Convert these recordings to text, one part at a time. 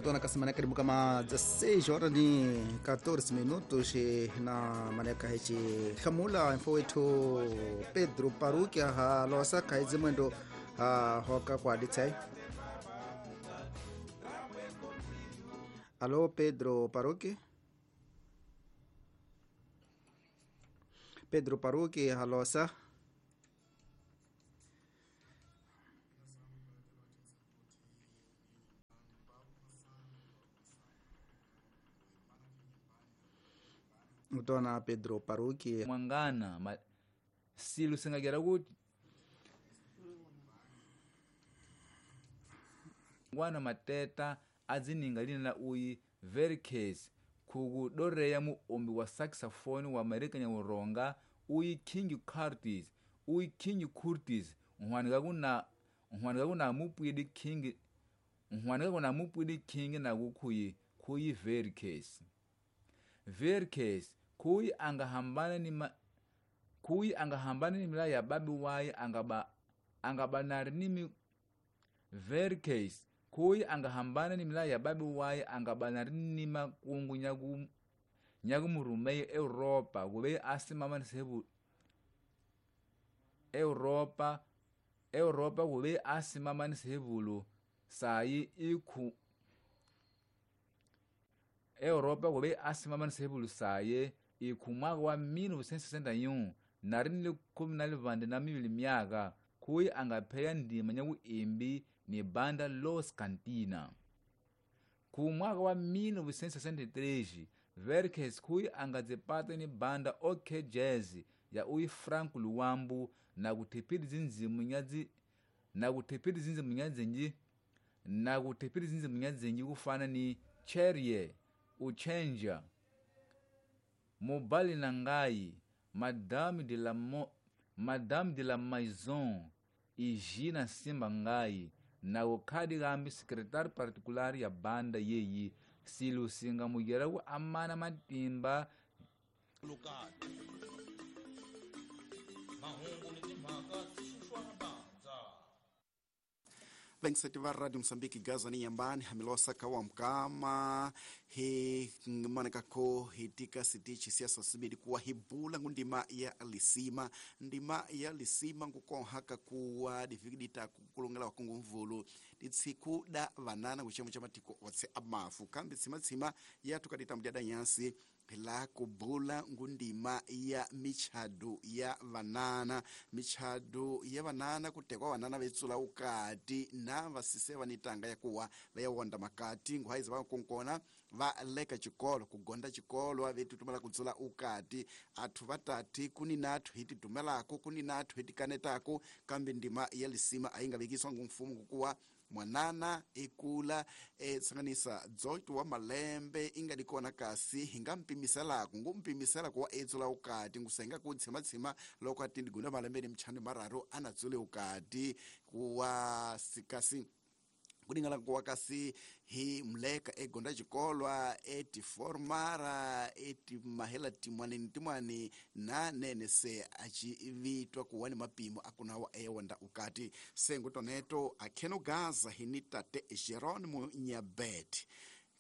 Mutona kasimana karibu kama 16 horas ni 14 minutos na maneka hechi khamula mfo wetu Pedro Parukia ha losa kaizi mwendo ha hoka kwa ditsai. Alô Pedro Paruki. Pedro Paruki halosa. Mutona Pedro Paruki mwangana silu singagera kuti ngwana mateta adzininga lina la uyi Verkes kukudoreya muombi wa saxophone wa Amerika nyauronga uyi King Curtis nhwanika kuna mupwidi King na kukhuyi khuyi Verkes khuyi angahambana ni mila ya babi waye angabanari ni Verkes khuyi angahambana ni mila ya babi waye angabanari ni makungu nyakumurumeye Europa kube asimama Europa kube asimama nisebulu sayi ikhu Europa kube asimama nisebulu saye ikhu mwaka wa 1961 nari ni 12 myaka khuyi angapheya ndima nyakuimbi ni banda Los Cantina. Ku mwaka wa 1963 Verkes khuyi angadzipata ni banda OK Jazz ya uyi Frank Luwambu na kuthipiri zinzimu nyadzinji kufana ni Cherie Uchenja Mobali Nangai Madame de la Maison Ijina Simba Ngai na ukhadi kambi secretary particular ya banda yeyi silusinga mugera ku amana matimba Vengiseti va Radio Msambiki Gaza ni yambani hamilosa kawa mkama hi manekako hitika sitichi siasa sibidi kuwa hibula ngundima ya lisima ndima ya lisima ngukonhaka kuwa difikidita kukulongela wakungu mvulu ditsiku da vanana kuchemo cha matiko otse amafu kambi tsimatsima yatukadita mdyada nyansi la kubula ngundima ya michado ya vanana kutekwa vanana vetsula ukati na vasise vanitanga yakuwa vayawonda makati nguhaiza vakonkona valeka chikolo kugonda chikolo avetutumela kudzula ukati athu vatati kuni nathu hititumelako kuni nathu hitikanetako kambi ndima ya lisima aingavikiswa ngumfumu kukuwa mwanana ikula tsanganisa dzoto wa malembe ingadikona kasi hingampimiselako ngumpimisela kuwa etsula ukati ngusenga kutsimatsima loko ati ndigunda malembe ni mchani mararu anatsule ukati kuwa sikasi kudingala kuwa kasi hi mleka egonda chikolwa etiformara etimahela timwani ntimwani na nene se achivitwa kuwa ni mapimo akunawa ewanda ukati sengu toneto akheno Gaza hini tate Jeronimo Nyabet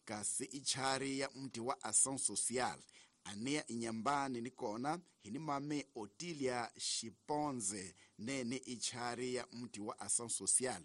kasi ichari ya mti wa Ação Social anea inyambani nikona hini mame Otilia Shiponze nene ichari ya mti wa Ação Social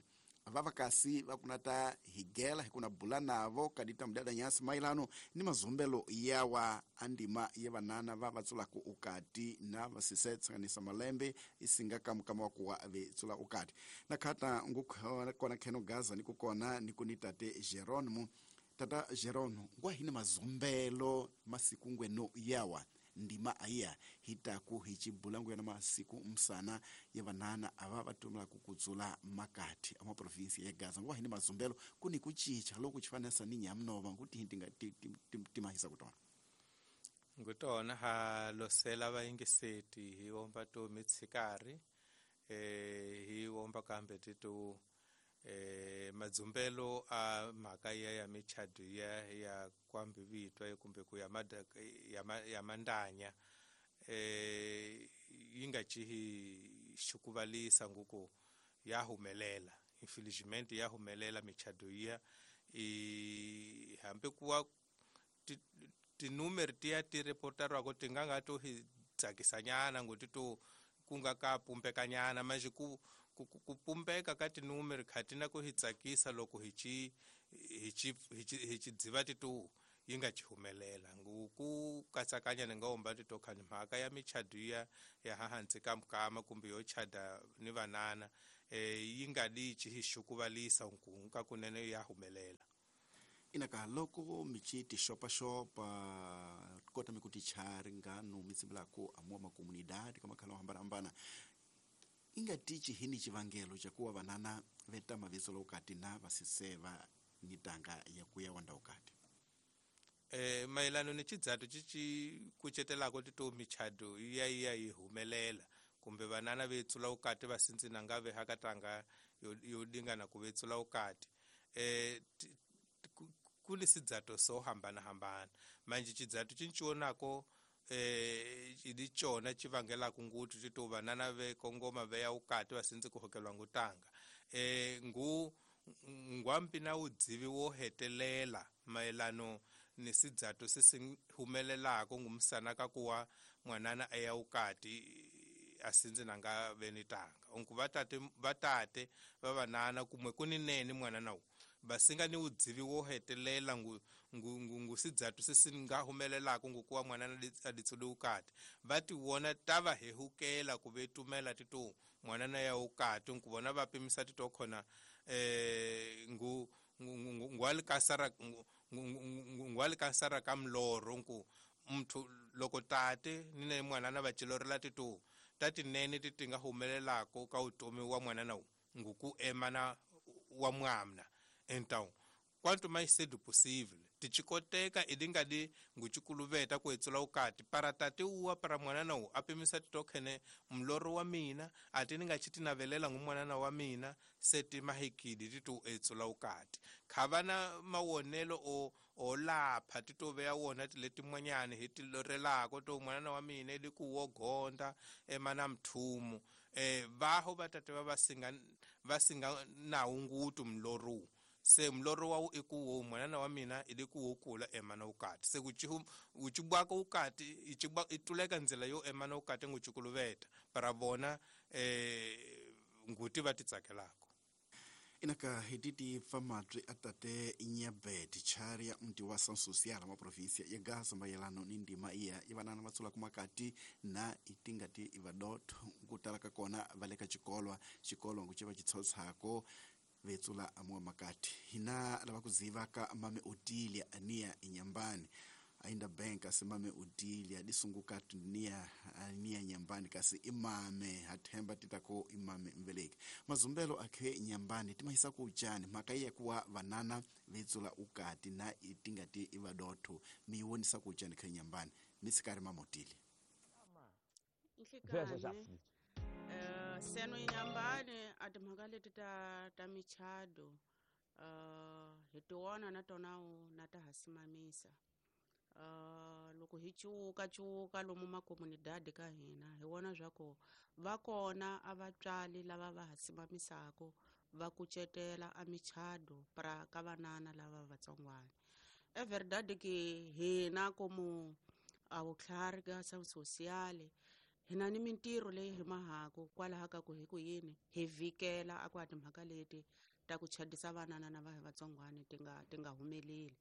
vavakasi vakunata higela hikuna bula navo kadita mdada nyasi mailano ni mazumbelo yawa andima ya vanana vavatsulaku ukati na vasise tsanganisa malembe isinga kamukama wakuwa vetsula ukati nakhata ngukona kheno Gaza nikukona nikunitate Jeronimo tata Jeronimo ngwa hini mazumbelo masiku ngweno yawa ndima aya hitaku hichibulangu yana masiku msana ya vanana ava vatumila kukudzula makati ama provinsi ya Gaza ngwa hini mazumbelo kuni kuchicha loku chifanasa ni nyamnova kuti hintinga timahisa kutona ngutona ha losela vaingiseti hi omba to mitsikari hi omba kambe titu madzumbelo a mhaka ya michado ya kwambivitwa kumbe ku ya mandanya yi nga cihi xikuvalisa nguku ya humelela infelizmente ya humelela michado I hambi kuwa tinumeri tiya ti reportariwako ti nga nga to hi tsakisanyana ngoti to ku nga ka pumbekanyana manje ku pumbeka ka tinumeri kha ti na ku hi tsakisa loko hi chi dziva ti to yi nga ci humelela ku katsakanya ni nga omba ti to khani mhaka ya michadu ya hansi ka mukama kumbe yo chada ni vanana yi nga di ci hi xukuvalisa nkunka kunene ya humelela. Inaka loko michi ti xopaxopa kota mi ku ti chari ngano mi tsimbelako amuwa makomunidade ka makhala o hambanahambana inga tichi hini chivangelo cha kuwa vanana veta maviso lokati na vasiseva ni tanga ya kuya wanda ukati. Mayelano ni chidzatu chichi kuchetelako tito michado iya yi humelela kumbe vanana vetsula ukati vasintsina ngave hakatanga yodingana kuvetsula ukati kuli sidzato so hambana hambana manje chidzatu chinchionako idi chona chivangela kunguti tito vanana ve kongoma veya ukati vasintsi kuhokelwa ngutanga ngu ngwampi na udzivi wo hetelela mayelano ni sidzato sisi humelelako ngumsana kakuwa mwanana eya ukati asinzi nanga venitanga unku vatate vavanana kumwe kuninene mwanana wu vasinga ni udzivi wo hetelela ngu sidzatu sisi nga humelelako ngukuwa mwanana aditsule ukati vati wona tava hehukela kuvetumela tito mwanana ya ukati nkuvona vapimisa tito khona ngu ngwalikasara ka mlorho nku muthu loko tate ni ne mwanana va cilorela tito tati nene ti tinga humelelako ka utomi wa mwanana wu nguku emana wa mwamna então quanto mais cedo possível tichikoteka idingadi nguchikuluveta kuetsula ukati para tate uwa para mwanana wu apimisa titokhene mloro wa mina ati ni nga chitinavelela ngu mwanana wa mina seti mahikidi titu etsula ukati khavana mawonelo o lapha titoveya wona tiletimwanyani hi tilorelako to mwanana wa mina ili ku wogonda emana mthumu vaho vatate va vasinga nawu ngutu mloro se mloro wa iku mwanana wa mina ili ku kula emana ukati se kuchibwako ukati ichibwa ituleka nzela yo emana ukati nguchikuluveta para vona nguti vatitsakelako. Inaka hititi famatri atate inyabeti chari ya mti wa San Social ma provincia ya Gaza mayelano ni ndima iya ivanana vatsula kumakati na itingati ivadotho kutala ka kona valeka chikolwa chikolwa ngucheva chitshotsako vetsula amuwa makati hina lava kuziva ka mame Otilia ania inyambani ainda bank asimame Otilia disunguka nia ania nyambani kasi imame hathemba titako imame mveleki mazumbelo akhe nyambani timahisa kuchani makaiya kuwa vanana vetsula ukati na itingati ivadotho miwonisa kuchani khe nyambani misikari mama Otilia. Seno inyambani atimhaka ta michado hi tiwona na tona na ta hasimamisa loko hi cuka lomu makomunidadi ka hina hi vona swa ku va kona a vatswali lava va hasimamisako va kucetela a michado pra ka vanana lava vatsongwana e verdade ke hina komu a vutlhari ka social hina ni mintirho leyi hi mahako kwalaha ka ku hi ku yini hi vhikela a ku a timhaka leti ta ku chadisa vanana na va hi vatsongwana ti nga humeleli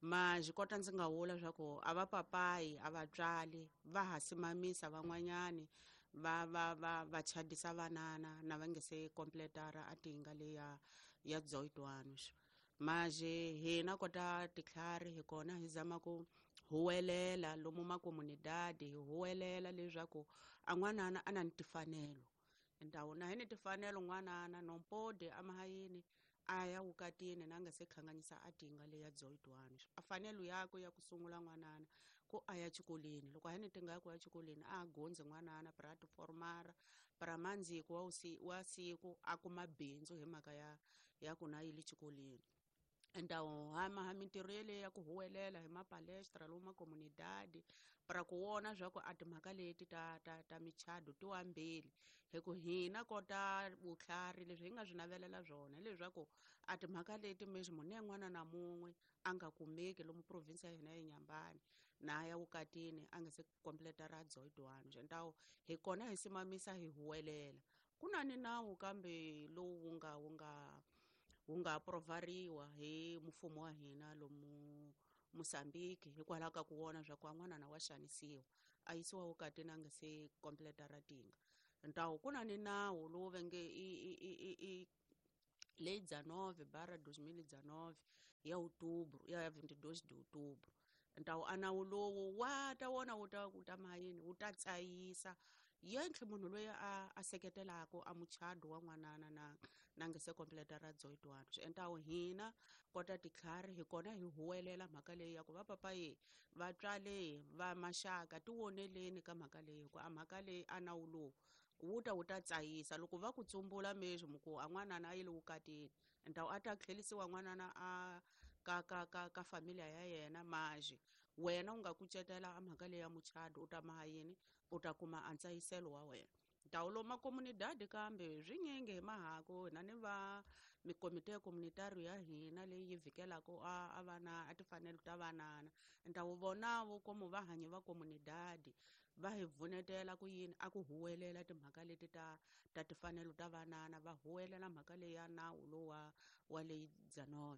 ma xikota ndzi nga vula swa ku a va papayi a vatswali va hasimamisa van'wanyani va chadisa vanana na va nge se completara a tinga leya ya dzoitwano maje hina kota titlhari hi kona hi zama ku huwelela lomu makomunidadi hi huwelela leswaku a n'wanana a na ni tifanelo ndhawu na hi ni tifanelo n'wanana nompode amahayini a ya wukatini na nga se khanganyisa a tinga leya dzoitwano a fanelo yakwe ya ku sungula n'wanana ku a ya xikolweni loko a ni tinga ya ku ya xikolweni a gondzi n'wanana pra tiformara pra mandziko wa siku a kuma bindzu hi mhaka ya ku na yile xikolweni. Então hama mintirho yeleyo ya ku huwelela hi mapalestra lomu makomunidadi para ku vona swa ku a timhaka leti ta michado ti wambili, hi ku hina kota vutlhari leswi hi nga swi navelela swona hileswaku a timhaka leti mesmo ne n'wana na mun'we a nga kumeki lomu province ya hina ya Inhambane na ya vukatini a nga se completa ra 18. Então hi kona hi simamisa hi huwelela. Ku na ni nawu kambe lowu wu nga aprovariwa hi mfumo wa hina lomu Mozambique, hikwalaho ka ku vona swa ku n'wanana wa xanisiwa a yisiwa vukatini a nga se completa ra tinga. Então ku na ni nawu lowu va nge i lei 19/2019 ya outubro, ya 22 de outubro. Então a nawu lowu wa ta wona wu ta wu ta mayini wu ta tsayisa yentlhe munhu loyi a seketelaka a muchado wa n'wanana na nga se completa ra 18. Então hina kota titlhari hi kona hi huwelela mhaka leyi ya ku va papaye vatswale va maxaka ti voneleni ka mhaka leyi, hikuva a mhaka leyi a nawu lowu wu ta tsayisa loko va ku tsumbula mesmo ku a n'wanana a yile vukatini. Então a ta tlherisiwa n'wanana a ka familia ya yena, maji wena u nga kucetela a mhaka leyi ya muchado u ta maha yini, u ta kuma a ntsayiselo wa wena. Então lomu makomunidadi kambe swinyingi hi mahako hina ni va mikomite communitario ya hina leyi yi vhikelaka a vana a timfanelo ta vanana. Então vona vo komu va hanyi va komunidadi va hi pfunetela ku yini a ku huwelela timhaka leti ta timfanelo ta vanana, va huwelela mhaka leyi ya nawu lowu wa leyi 19.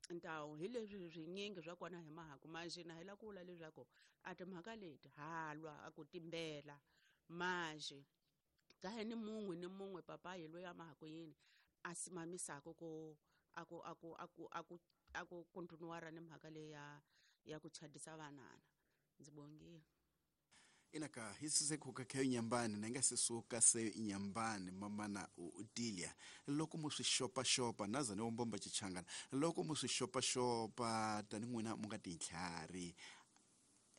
Então hi leswi swinyingi swa kona hi mahaku manjhe na hi la ku vula leswaku a timhaka leti halwa a ku timbela manjhe kahe ni mun'we ni mun'we papayi loyi a mahaku yini a simamisaka ku a ku a ku a ku a ku a ku continuara ni mhaka leyi ya ku chadisa vanana. Ndzi bongile. Inaka hisise khuka khayo Inhambane na nga sisuka se Inhambane mamana Otilia loko mu swi xopaxopa naza ni wombomba chichangana loko mu swi xopaxopa tani n'wina mu nga tintlhari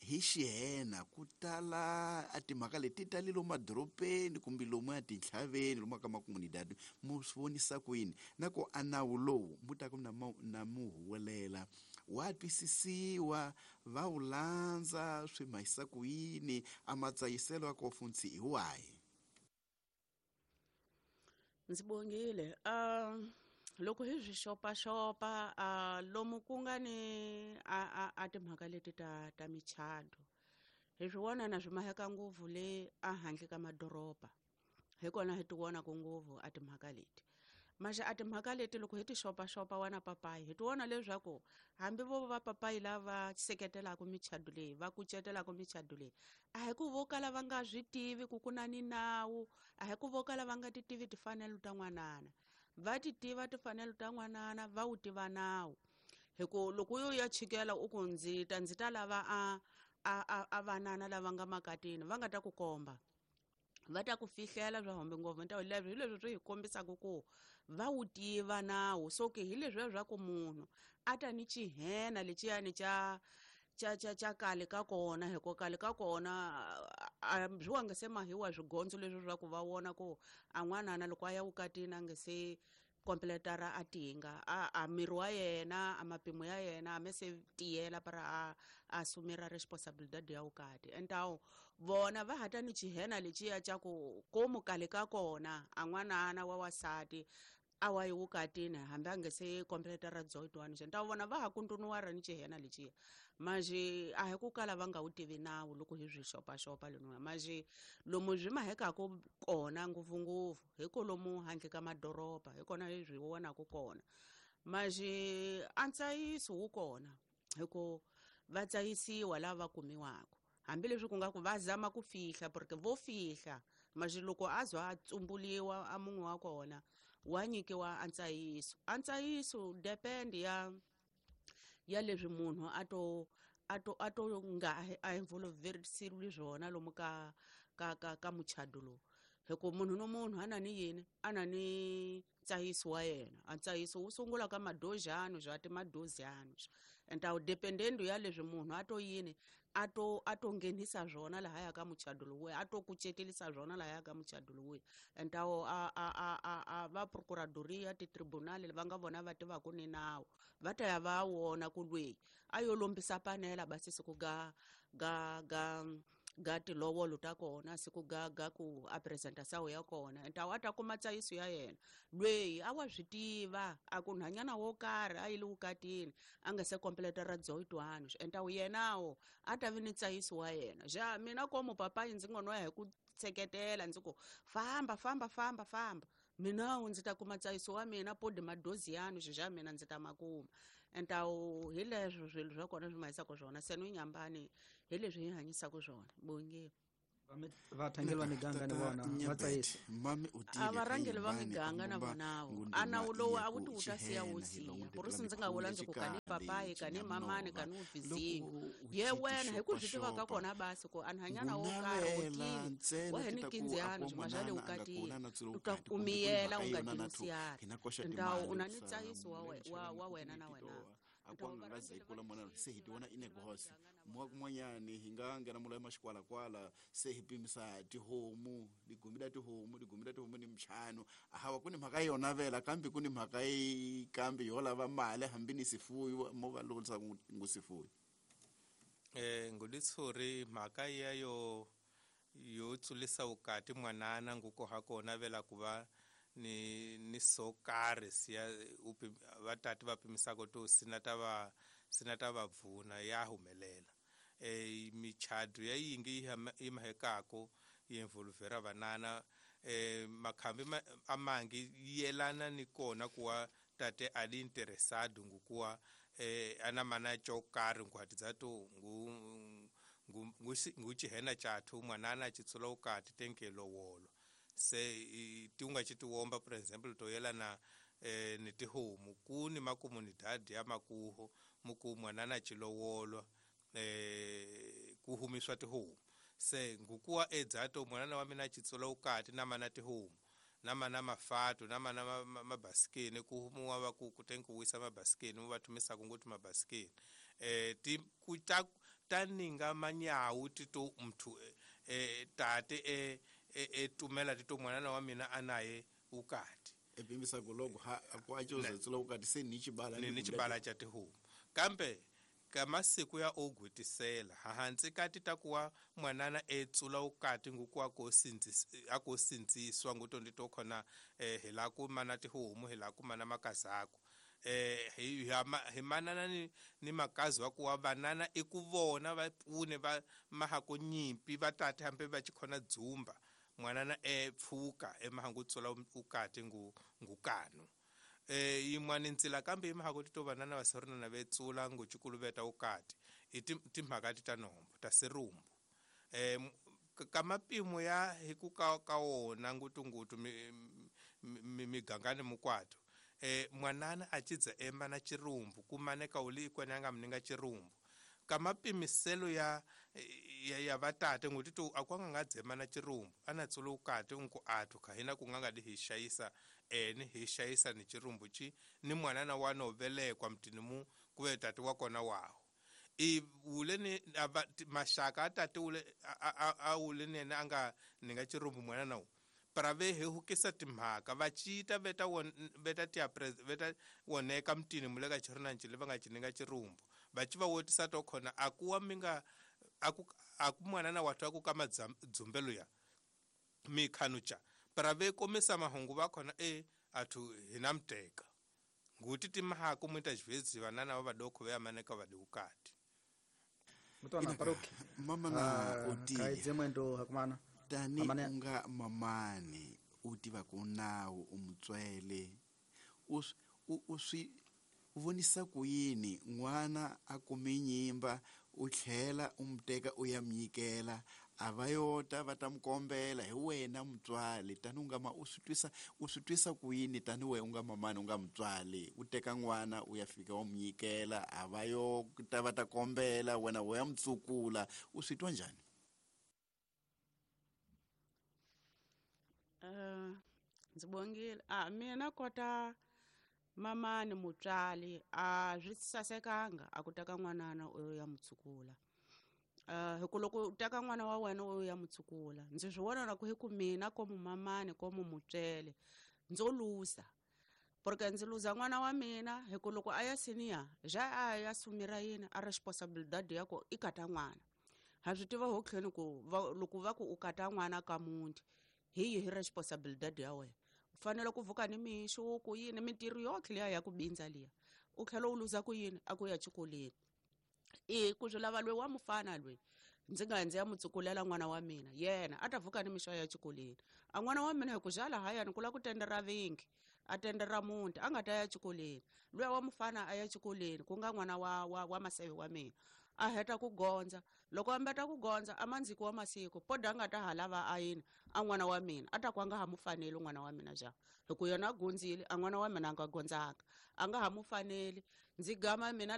hi xihena ku tala a timhaka leti tali lomu madorobeni kumbe lomu ya tintlhaveni lomu ka makomunidadi mu swi vonisa ku yini na ku a nawu lowu mu ta ku na mu huwelela wa twisisiwa va wu landza swi mahisa ku yini a matsayiselo ya kofuntsi hi wahi? Ndzi bongile. Loko hi swi xopaxopa lomu ku nga ni a timhaka leti ta michado hi swi vona na swi maheka ngopfu le a handle ka madoroba, hi kona hi ti vonaka ngopfu a timhaka leti. Maxe a timhaka leti loko hi ti xopaxopa wana papayi hi ti vona leswaku hambi vo va papayi lava seketelaka michado leyi va kucetelaka michado leyi a hi ku vo kala va nga swi tivi ku ku na ni nawu, a hi ku vo kala va nga ti tivi timfanelo ta n'wanana, va ti tiva timfanelo ta n'wanana, va wu tiva nawu. Hi ku loko yo ya chikela u ku ndzi ta lava a vanana lava nga makatini va nga ta ku komba, va ta ku fihlela swa hombe ngopfu. Então leswi hi leswi swi hi kombisaka ku va wu tiva nawu. So ke hi leswiya swa ku munhu a ta ni xihena lexiyani xa kale ka kona, hi ku kale ka kona swi wa nga se mahiwa swigondzo leswi swa ku va vona ku a n'wanana loko a ya vukatini a nga se completara a tinga a miri wa yena a mapimo ya yena a me se tiyela para a assumira responsabilidade ya vukati. Então vona va hata ni xihena lexiya xa ku komu kale ka kona a n'wanana wa wasati a wa yi vukatini hambi a nga se completa ra 18. Então vona va ha continuara ni xihena lexiya manjhe a hi ku kala va nga wu tivi nawu loko hi swi xopaxopa leniwa. Manjhe lomu swi mahekaka kona ngopfungopfu hi ko lomu handle ka madoroba hi kona hi swi vonaka kona. Manjhe a ntsayiso wu kona hi ku va tsayisiwa lava kumiwaka, hambileswi ku nga ku va zama ku fihla porque vo fihla manjhe loko a zwa a tsumbuliwa a mun'we wa kona wa nyikiwa a ntsayiso. A ntsayiso depend ya leswi munhu a to nga a involverisile swona lomu ka muchado lowu, hi ku munhu no munhu a na ni yini a na ni tsayiso wa yena. A tsayiso wu sungula ka madozhano zwa ti madozhano and a wu dependendo ya leswi munhu a to yini a to nghenisa swona lahaya ka muchado lowuya, a to kucetelisa swona lahaya ka muchado lowuya. And a va procuradoria ti-tribunal va nga vona va tivaka ni nawu va ta ya va wona ku lweyi a yo lombisa panela basi siku ga ga ga ga tilovolo ta kona, siku ga ga ku a presenta sawu ya kona. And a ta kuma tsayiso ya yena lweyi a wa swi tiva a ku nhwanyana wo karhi a yi le vukatini a nga se completa ra dzoyitwano, and awu yenawo a ta vi ni tsayiso wa yena. Ja mina komo papayi ndzi ngo no ya hi ku tsheketela ndzi ku famba famba famba famba, mina ndzi ta kuma tsayiso wa mina podi madozi yanu xa mina ndzi ta makuma. And awu hi leswo swilo swa kona swi mahisaka swona se no nyambani hi leswi hi hanyisaka swona bonge. Vathangeli va miganga ni vona va tsayisa mami u tile a varhangeli va miganga na vonawo a nawu lowu a wu ti wu ta siya wo siya ku ri ndzi nga vula ndzi ku kani papayi kani mamani kani uvizinyo ye wena hi ku swi tiva ka kona basi ku a nhwanyana wo karhi u tile wa heni kinziyani swima swa le vukatini u ta kumiyela u nga tilusiyani ndawu u na ni tsayiso wa wena na wena. Akwanga nga za ikula mwana se hi tiwona ine gosi mwa kumwanyani hi nga ngena mula maxikwala kwala se hi pimisa tihomu digumida tihomu digumida tihomu ni mchano hawa kuni mhaka yona vela kambe kuni mhaka yi kambe yo lava mali hambi ni sifuyo mo va lolisa ngusifuyo nguditsuri mhaka yayo yo tsulisa ukati mwanana nguko hakona vela kuva ni so karhi siya vatati va pimisaka to sinata va pfuna ya humelela. Michado ya yingi yi mahekako yi involvera vanana makhambi amangi yelana ni kona kuwa tate ali interesado ngukuwa ana mana cho karhi nkwati to ngu ngu chihena chathu mwanana chitsula ukati tenkelo wolo se tiunga chitiwomba for example to yelana ni tihomu kuni makomunidade ya makuho muku mwanana chilowolwa kuhumiswa tihomu se ngukuwa edzato mwanana wa mina chitsula ukati na mana tihomu na mana mafatu na mana mabasikeni kuhumuwa va ku kutenkuwisa mabasikeni va thumisa kunguti mabasikeni ti kuta taninga manyawu tito mthu tate tumela tito mwanana wa mina anaye ukati epimisa kulogo ha akwacho zetsula ukati se ni chibala ni chibala cha tihomu kambe kamasiku ya ogwitisela hansi kati takuwa mwanana etsula ukati ngukuwa akosinziswa nguto ndito khona hela ku mana tihomu hela ku mana makazako hi manana ni makazi wa kuwa vanana ikuvona va pfune va mahako nyimpi va tate hambe va chikhona dzumba mwanana pfuka emahangu tsula ukati ngukano yin'wana ntsila kambe yi mahako tito vanana va seronana vetsula nguchikuluveta ukati i timhaka ti ta nombo ta serumbu ka mapimo ya hi ku ka wona ngutungutu migangani mukwato mwanana a chidza emana chirumbu kumaneka uli ikwena anga mninga chirumbu ka mapimiselo ya vatate ngutito akwanga nga dzemana chirumbu ana tsula ukati unku athu kahina kunganga di hi xayisa ni hi xayisa ni chirumbu chi ni mwanana wa novelekwa mtini mu kuve tati wa kona waho i ule ni maxaka a tate ule a ule nene anga ninga chirumbu mwanana wu para ve hi hukisa timhaka va cita veta veta tia veta woneka mtini muleka chirina nchile va nga chininga chirumbu va ci va wotisa to khona akuwa minga aku mwanana wathu aku ka madzumbelo ya mikhanucha para ve komisa mahungu va khona athu hina mteka nguti timhaka muita xivezi vanana va vadokho va yamaneka va diukati mutwana paroki mama na oti kaidze mwendo hakumana tani unga mamani uti va ku nawu umutswele uswi vonisa ku yini n'wana a kume nyimba u tlhela u muteka u ya mnyikela a va yota va ta mukombela hi wena mutswali tani u nga ma u swi twisa ku yini tani we u nga mamani u nga mutswali u teka n'wana u ya fika wa munyikela a va yo ta va ta kombela wena u ya mutsukula u swi twa njhani? Ndzi bongile. A mina kota mamani mutswali a swi sasekanga a ku teka n'wanana u ya mutshukula. Hi ku loko u teka n'wana wa wena u ya mutshukula, ndzi swi vona na ku hi ku mina komu mamani komu mutswele ndzo luza, porque ndzi luza n'wana wa mina. Hi ku loko a ya senior ja a ya sumira yini a responsibilidade ya ku i kata n'wana. Ha swi tiva hotlheni ku loko va ku u kata n'wana ka muti, hi yihi responsibilidade ya wena? U fanele ku vuka ni mixo ku yini, mintirho yotlhe liya ya ku bindza liya, u tlhela u luza ku yini a ku ya xikolweni. I ku swi lava loyi wa mufana loyi ndzi nga ndzi ya mu tsukulela n'wana wa mina, yena a ta vuka ni mixo ya xikolweni. A n'wana wa mina hi ku jala hayani ku la ku tendera vingi, a tendera muti, a nga ta ya xikolweni. Luya wa mufana a ya xikolweni, ku nga n'wana wa maseve wa mina, a heta ku gondza. Loko a mbeta ku gondza a mandziki wa masiku poda a nga ta ha lava a yini a n'wana wa mina, a ta ku a nga ha mu faneli n'wana wa mina ja, hi ku yena a gondzile, a n'wana wa mina a nga gondzanga, a nga ha mu faneli. Ndzi gama mina.